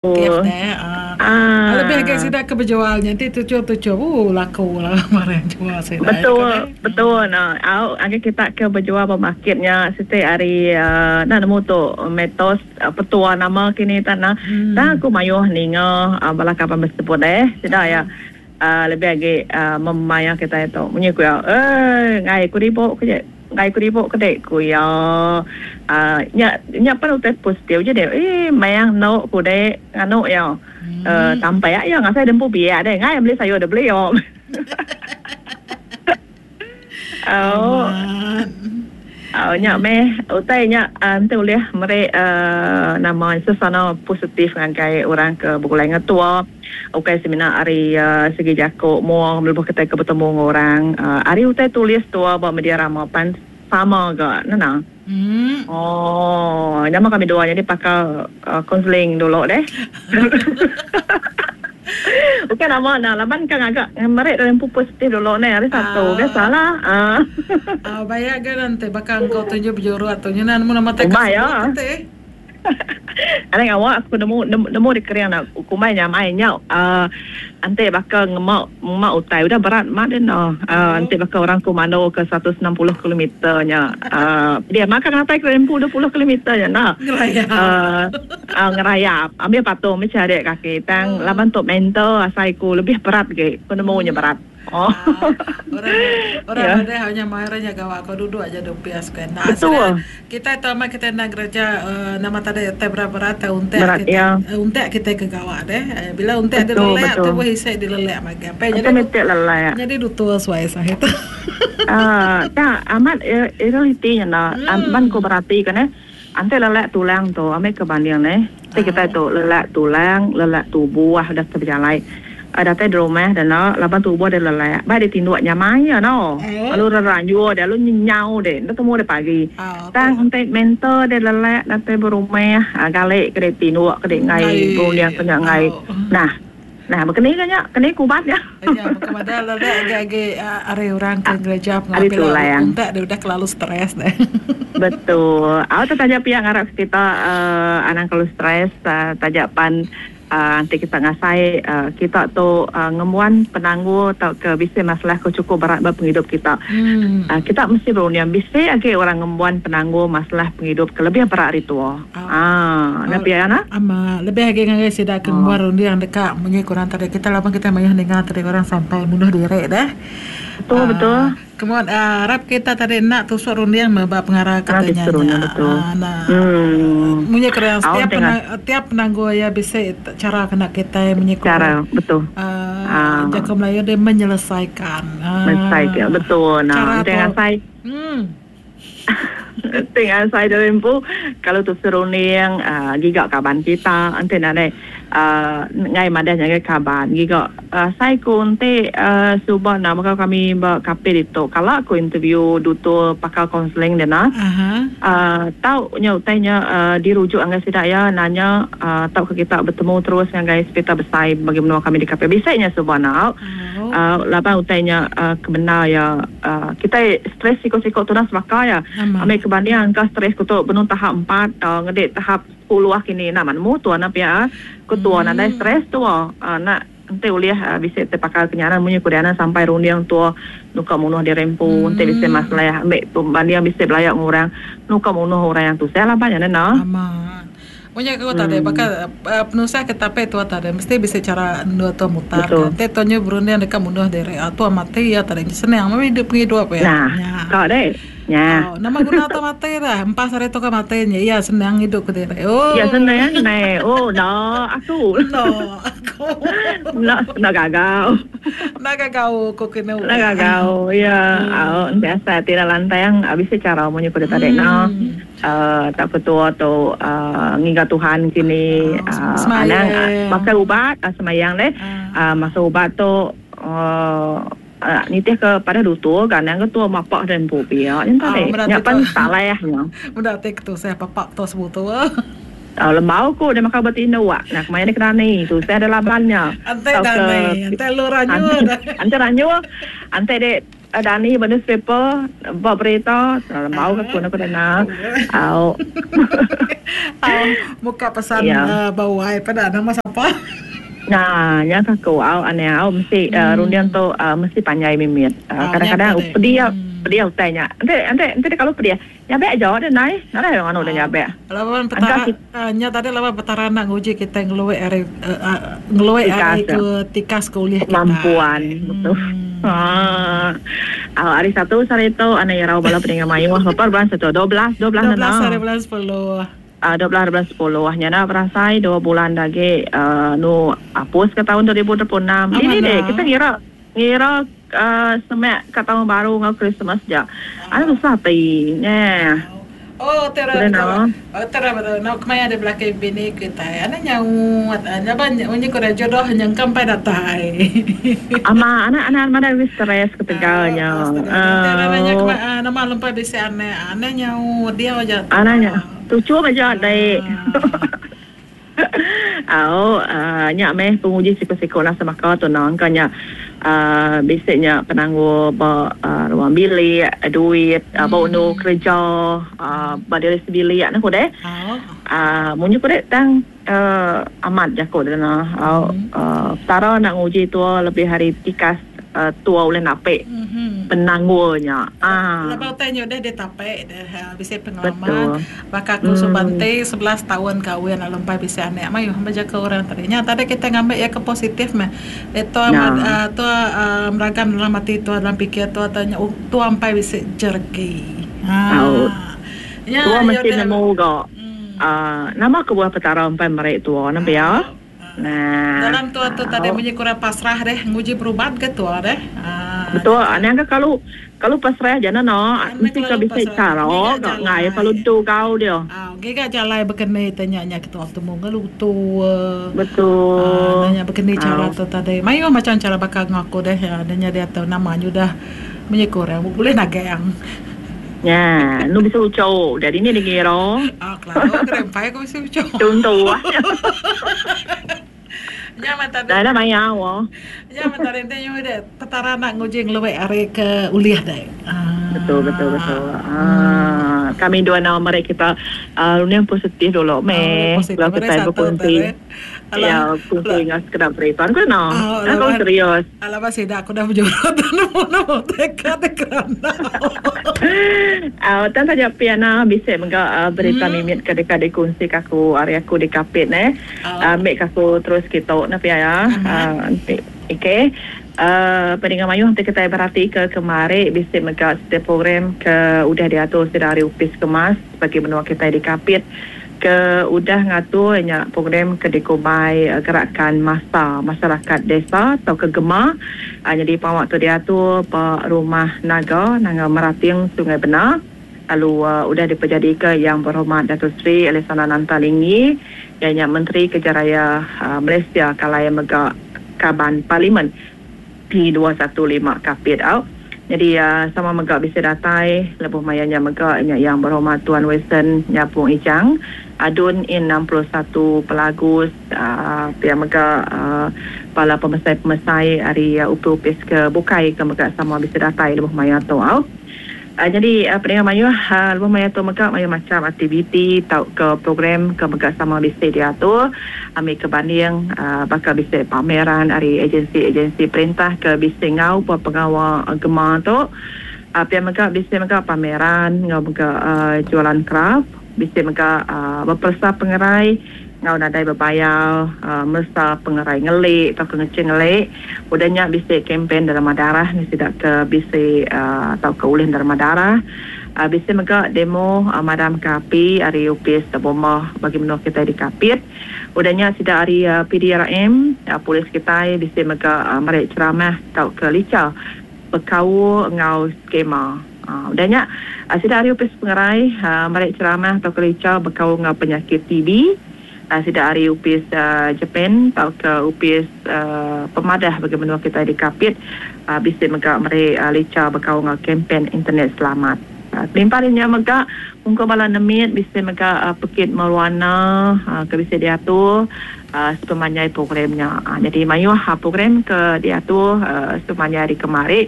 Aktif deh. Ah. Lebih agi sida ke bejual nya enti tuchum-tuchum ooh laku lah barang jual sida. Betul, betul nah. Au agi kita ke bejual ba market nya siti ari enda nemu tu mitos petua nama kini tan nah. Tang aku mayuh ninga bala kaban besebut deh sida iya lebih agi memaya kitai tu. Munyi ku iya eii enggai ku ribu ku je. Enggai ku ribu ke dek, ku iya. Aaa nya nya pan utai positif je dek. Eii mayang endo ku dek nganu iya. Eee tampak iya ngasai dempu biak deh enggai meli sayur deh beli oh. Au. Au nya meh utai nya enti ulih meri aaa nama sesana positif ngagai orang ke begulai ngetua. Ukai semina ari segi jaku mua lebuh kitai ke betemu enggau orang, ari utai tulis tua ba media rama pan sama ga nena. Oh, nama kami dua nyadi pakar konseling dulu deh. Ukai nama enda laban ka ngaga meri diri empu positif dulu neh hari satu biasalah. Au bayak ga enti baka engkau tunjuk bejurut tu nyunan nemu nama tai ka sebut ti. Anang ngawa aku nemu nemu dikering ne kumbai nyamai nya uhh enti baka ngema ngema utai udah berat mat deh ne uhh enti baka orang komando ke 160 kilometer nya uhh dia mah ka ngatai ke empu 20 kilometer nya enda uhh ngerayap ambih patung meh charik kaki tang laban tu mental asai ku lebih berat agi ku nemu nya berat. Oh. Orang orang yeah. madah hanya mai orang nya gawa ko duduk aja di opis ko. Nah, Betul. Kita tu amat kita nak kerja uh, nama tadi utai berat-berat tai untek berat, kita. Ya. Uh, untek kita ke gawa deh. Uh, bila untek dia lelek tu boleh isai dia lelek magi. Apa jadi lelek. Jadi dutua suai sah itu. Ah, uh, tak amat realiti nya nah. Ban ko berati kan eh. Ante lelek tulang tu ambi ke banding neh. Ti kitai tu lelak tulang, lelak tubuh udah ke bejalai. Datai di rumah deh enda laban tubuh deh lelak. Bai deh tinduk nyamai iya no. Lalu reranjur deh lalu nyenyau deh enda temu deh pagi. Tang enti mental deh lelak datai berumah gali ke deh tinduk ke deh enggai berunding ke nya enggai. Nah. Nah, baka ni ga nya, keni ku ubat nya. Iya, baka madah lelak agi agi ari orang ke ngereja pengawa pila untak deh udah kelalu stress deh. Betul. Au tu taja pia ngarap kita uhh anang kelalu stress taja pan enti kita ngasai kita tu ngembuan penanggul tauka bisi masalah ke chukup berat ba pengidup kita. Kita mesti berunding bisi agi orang ngembuan penanggul masalah pengidup ke lebih berat ari tua. Aa, nya pia nah. Ama, lebih agi ngagai sida ke ngembuan runding deka munyi ke orang tadi kita laban kitai mayuh ninga tadi orang sampai munuh diri deh. Betul betul. Kemuan arap kita tadi enda tusuk runding meh ba pengara ke tanya nya. Aa, munyi ke orang setiap tiap penanggul iya bisi chara kena kitai munyi ke orang. Chara betul. Aa, jaku Melayu deh menyelesaikan. Menyelesaikan betul nah. Enti ngasai. Enti ngasai diri empu kalau tu serunding uhh giga kaban kita enti nadai uhh enggai madah ngagai kaban giga asai ku enti uhh suba enda baka kami ba Kapit ditu kala ku interview dutur pakar kaunseling dina uhh tau nya utai nya uhh dirujuk ngagai sida iya nanya uhh tauka kita betemu terus ngagai sepital besai bagi menua kami di Kapit bisi nya suba enda uhh laban utai nya uhh kebendar iya. Kitai stress siko-siko tudah sebaka iya. Ambi ke banding engka stress ku tu benung tahap empat ngedi tahap sepuluh kini enda mah nemu tua enda pia. Ku tua nadai stress tua enda enti ulih bisi ti pakar ke nyaran munyi ku diana sampai runding tua nuka munuh diri empu enti bisi masalah ambi tu banding bisi belaya enggau orang nuka munuh orang yang tusah laban nya neh. Munyi aku tadi baka penusah ke tapi tua tadi mesti bisi chara endur tua mutar ka. Enti tua nyu berunding deka munuh diri tua mati iya tadi senang meh idup pengidup iya. Nah, ka deh. Nya. Oh, nama guna tua mati dah. Empas hari tua ka mati nya iya senang idup kediri. Oh. Iya senang neh. Oh, enda aku. Enda aku. Enda enda gagau. Enda gagau ku kenu. Enda gagau. Iya, au enti asai ati enda lantang bisi chara munyi ku deh tadi noh. Tauka tua tu ngiga Tuhan kini anang makai ubat semayang deh masa ubat tu nitih ke padah dutur ga anang ke tua mapa deh empu pia nya tadi nya pan salah nya. Meda ti ke tusah papak tua sebutu. Lembau ku deh makai ubat indu nah kemaya deh ke dani tusah deh laban nya. Enti dani enti lu ranyu enti ranyu enti deh. dani ba newspaper ba berita lembau ke aku aku dana. Au. Au muka pesan ba wai peda nama sapa. Nah nya ka aku au anih au mesti runding tu mesti panjai mimit. Kadang-kadang pedia pedia utai nya. Enti enti enti deka lu pedia nyabek aja deh nai. Nadai anu deh nyabek. Laban petara nya tadi laban petara enda nguji kitai ngeluek ari ngeluek ari ke tikas ke ulih kitai. Kemampuan betul. Au hari satu sehari tu anak irau bala peninga mayuh berapa bulan satu 12 12 12 hari bulan sepuluh. 12 hari bulan sepuluh nya enda berasai dua bulan da agi nu apus ke taun 2026. Dini deh kita ngira ngira semak ka taun baru enggau Christmas ja. Anu tusah ati nya. Oh tera betul. Tera betul. Nau kemaya deh belaki bini kitai. Anu nyaut. Laban munyi ku deh jodoh nyengka empai datai. Ama anak anak madah lebih stress ketegal nya. Aaa nama lempai bisi anak. Anang nyaut diau aja tu. Anang nya tuchum aja dek. Au nya meh penguji siku-siku nasa baka tu nah engka nya aaa bisi nya penanggul ba ruang bilik, duit, ba undu kereja aaa ba diri sebilik ne ku deh. Aaa munyi ku deh tang aaa amat jaku deh nah au petara enda nguji tua lebih ari tikas. Tua ulih napi penanggul nya. Lebuh utai nya udah ditapi deh bisi pengalaman baka aku suba enti 11 taun kawin lalu empai bisi anak mayuh bejaka orang tadi. Nya tadi kitai ngambi iya ke positif meh. Tua tua meragam dalam ati tua dalam pikir tua tua empai bisi jereki. Nya tua mesti nemu ga nama kebuah Petara empai meri tua nembiak. Nah. Dalam tua tu tadi munyi kurang pasrah deh nguji berubat ke tua deh. Betul anang ke kalu kalu pasrah ja ne no mesti ka bisi cara ga ngai kalu tu kau dia. Giga jalai bekeni te nya nya ketua betemu enggau lutu. Betul. Nya bekeni cara tu tadi. Mayuh macam cara baka enggau aku deh nya diatu nama nyudah munyi kurang bulih nagang. Nya, nu bisi uchu. Jadi ni dikira. Ah, kelalu ke rempai aku bisi uchu. Chuntu. Nya meh tadi. Dah dah maya wo. Nya meh tadi enti nyu dek petara enda nguji ngeluek ari ke ulih dek. Ah. Betul betul betul. Ah, kami dua nama meri kita uh, runding positif dulu meh. Kalau kita berkongsi. Ya, berkongsi dengan sekedar berita. Kau no. Kau serius. Alamak sida aku dah bejurut nemu nemu teka te kerandau. Au tang taja pia na bisi mega berita mimit ke deka dikunsi ka aku ari aku di Kapit neh. Ambi ka aku terus kitu ne pia ya. Enti okey peninga mayuh enti kitai berati ke kemari bisi mega siti program ke udah diatur sida ari Opis Kemas bagi menua kitai di Kapit. Ke udah ngatur nya program ke dikumbai Gerakan Massa Masyarakat Desa tauka GEMA nyadi pengawa tu diatur ba Rumah Naga, Nanga Merating, Sungai Bena lalu udah dipejadika Yang Berhormat Dato Sri Alexander Nanta Linggi iya nya Menteri Kerja Raya Malaysia kalai mega Kaban Parlimen P215 Kapit au. Nyadi sama mega bisi datai lebuh maya nya mega nya Yang Berhormat Tuan Wilson Nyapung Ijang, Adun In 61 Pelagus, pia mega bala pemesai-pemesai ari upis-upis ke bukai ke mega sama bisi datai lebuh maya tu au. Nyadi peninga mayuh lebuh maya tu mega mayuh macham aktiviti tauka program ke mega sama bisi diatur ambika banding baka bisi pameran ari agensi-agensi perintah ke bisi enggau ba pengawa gema tu. Pia mega bisi mega pameran enggau mega jualan kraf, bisi mega beperesa pengerai enggau nadai bebayar meresa pengerai ngeli tauka ngeching ngeli. Udah nya bisi kempen derma darah ngi sida ke bisi tauka ulih derma darah. Bisi mega demo madamka api ari opis bomba bagi menua kitai di Kapit. Udah nya sida ari PDRM, polis kitai bisi mega meri ceramah tauka licha bekaul enggau skema. Udah nya sida ari opis pengerai meri ceramah tauka licha bekaul enggau penyakit TB. Sida ari opis Japan tauka opis pemadah bagi menua kitai di Kapit bisi mega meri licha bekaul enggau kempen internet selamat. Kelimpah ari nya mega ungkup bala nemit bisi mega pekit mewarna ke bisi diatur sepemanjai program nya. Nyadi mayuh program ke diatur sepemanjai hari kemari.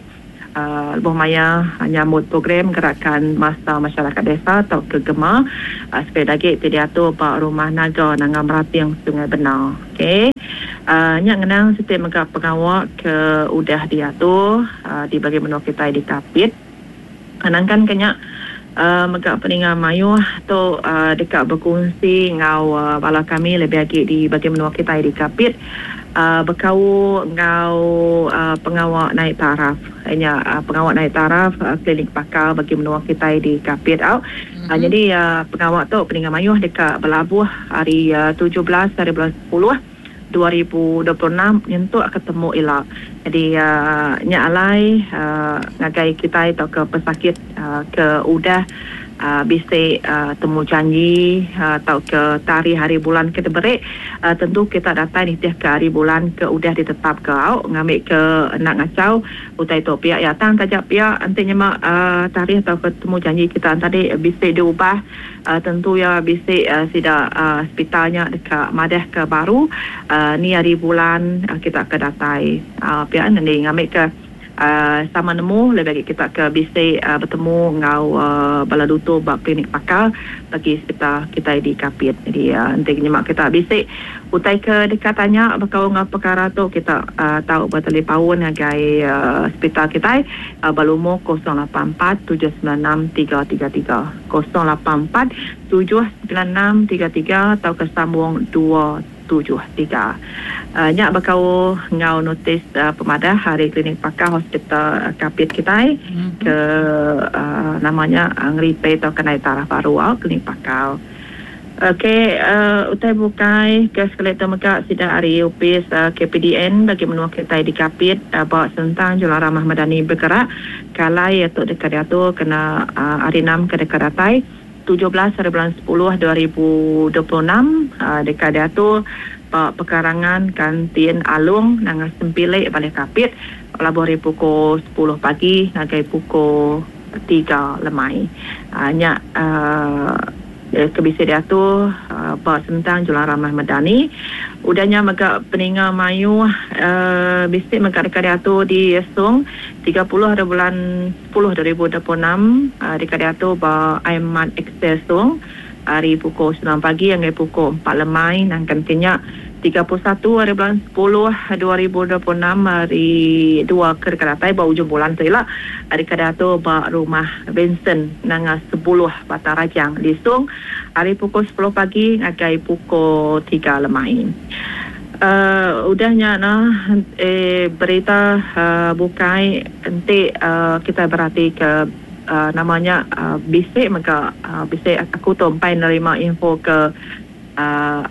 Lebuh maya nyambut program Gerakan Masa Masyarakat Desa tauka GEMA sekali agi ti diatur ba Rumah Naga Nanga Merating Sungai Bena. Ok. Nya ngenang siti mega pengawa ke udah diatur di bagi menua kitai di Kapit. Nangkan ke nya mega peninga mayuh tu deka bekunsi enggau bala kami lebih agi di bagi menua kitai di Kapit. Bekaul enggau pengawa naik taraf nya pengawa naik taraf klinik pakar bagi menua kitai di Kapit au. Nyadi pengawa tu peninga mayuh deka belabuh hari 17 hari bulan 10 2026 nyentuk ke temu ila. Nyadi nya alai ngagai kitai tauka pesakit ke udah bisi temu janji tauka tarikh hari bulan ke diberi tentu kita datai nitihka hari bulan ke udah ditetapka au ngambika enda ngachau utai tu pia iya. Tang taja pia enti nyema tarikh tauka temu janji kita tadi bisi diubah tentu iya bisi sida sepital nya deka madahka baru ni hari bulan kita ke datai pia ngendi ngambika Sama nemu lebih agi kita ke bisi betemu enggau bala lutur ba klinik pakar bagi sepital kitai di Kapit. Jadi enti nyema kita bisi utai ke deka tanya bekaul enggau pekara tu kita tau betalipaun ngagai sepital kitai ba lumur 084 796 333, 084 796 33 tauka sambung dua. 73. Nya bekaul enggau notis pemadah ari Klinik Pakar Hospital Kapit kitai ke nama nya ngeripe tauka naik taraf baru au Klinik Pakar. Ok utai bukai ke sekali tu mega sida ari opis KPDN bagi menua kitai di Kapit ba sentang Julau Ramah Madani Bergerak ke alai tu deka diatur kena hari enam ke deka datai. 17 hari bulan 10 2026 deka diatur ba pekarangan Kantin Along Nanga Sempilik Balih Kapit belabuh ari pukul 10 pagi ngagai pukul 3 lemai. Nya ke bisi diatur ba sentang Julang Ramah Medani. Udah nya mega peninga mayuh bisi mega deka diatur di Song 30 hari bulan 10 2026 deka diatur ba Aimat Excel Song ari pukul 9 pagi ngagai pukul 4 lemai nangkan ke nya 31 hari bulan 10 2026 hari dua ke deka datai ba ujung bulan tu ila deka diatur ba Rumah Vincent Nanga Sebuluh Batang Rajang di Song ari pukul 10 pagi ngagai pukul 3 lemai. Udah nya nah berita bukai enti kitai beratika nama nya bisi mega bisi aku tu empai nerima info ke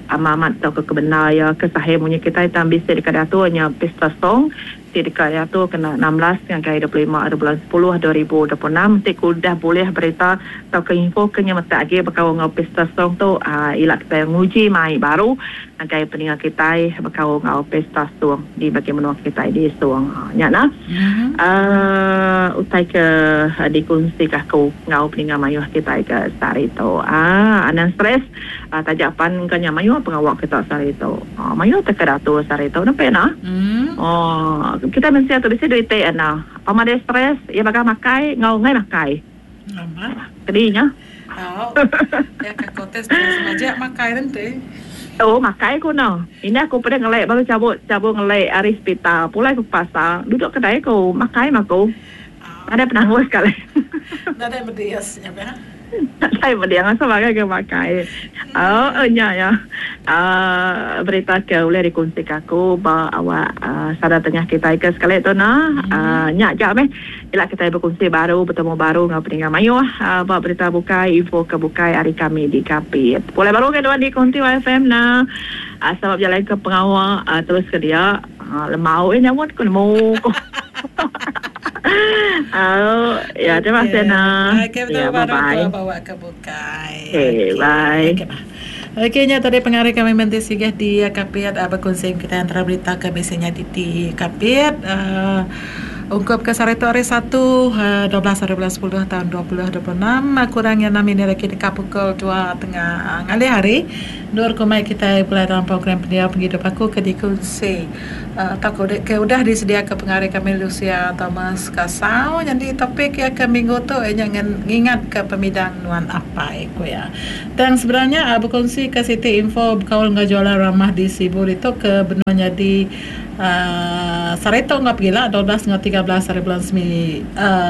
amat amat tauka ke bendar iya ke sahih munyi kitai tang bisi deka diatur nya Pesta Song ti deka diatur kena 16 ngagai 25 ari bulan 10 2026 enti ku udah bulih berita tauka info ke nyemetak agi bekaul enggau Pesta Song tu ila kitai nguji mai baru Ngagai peninga kitai bekaul enggau Pesta Song di bagi menua kitai di Song. Nya nah. Uhh utai ke dikunsika aku enggau peninga mayuh kitai ke sehari tu. Uhh anang stress taja pan engka nya mayuh pengawa kita sehari tu. Mayuh teka diatur sehari tu nempe nah. Uhh kitai mensia tu bisi duit ti nah. Pama deh stress iya baga makai enggau enggai makai. Kedi nya. Au. Ya ka kotes terus majak makai renti. Oh makai ku no. Indah ku peda ngelek baru cabut cabut ngelek ari sepital pulai ku ke pasar duduk kedai ku makai mah ku. Nadai penanggul sekali. Nadai medis nya pia. Nadai medis asal makai ke makai. Oh nya ya. Aaa berita ke ulih dikunsika aku ba awak sada tengah kitai ke sekali tu nah. Aaa nya aja meh. Ila kitai bekunsi baru betemu baru enggau peninga mayuh ba berita bukai info ke bukai ari kami di Kapit. Pulai baru ngagai nuan di Konti YFM na selamat bejalai ke pengawa terus ke dia lemau eh nyamut ku nemu ku. Au ya terima kasih na. Okey betemu Ya bye baru bye. tua bawa ke bukai. Okey Okey. bye. Okey bah. Okey nya tadi pengari kami menti sigah di Kapit berkunsi kitai antara berita ke bisi nyadi di Kapit. Ungkup ke sehari tu hari Satu 12 hari bulan sepuluh taun 2026 kurang iya enam minit agi deka pukul dua tengah ngalih hari endur ku mai kitai begulai dalam program Pendiau Pengidup Aku ke dikunsi tauka ke udah disediaka pengari kami Lucia Thomas Kasau nyadi topik iya ke minggu tu iya nya ngingatka pemidang nuan apai, ku iya. Tang sebedau nya bekunsika siti info bekaul enggau jualan ramah di Sibu ditu ke benung nyadi Saritu enggau pegila 12 enggau 13 hari bulan.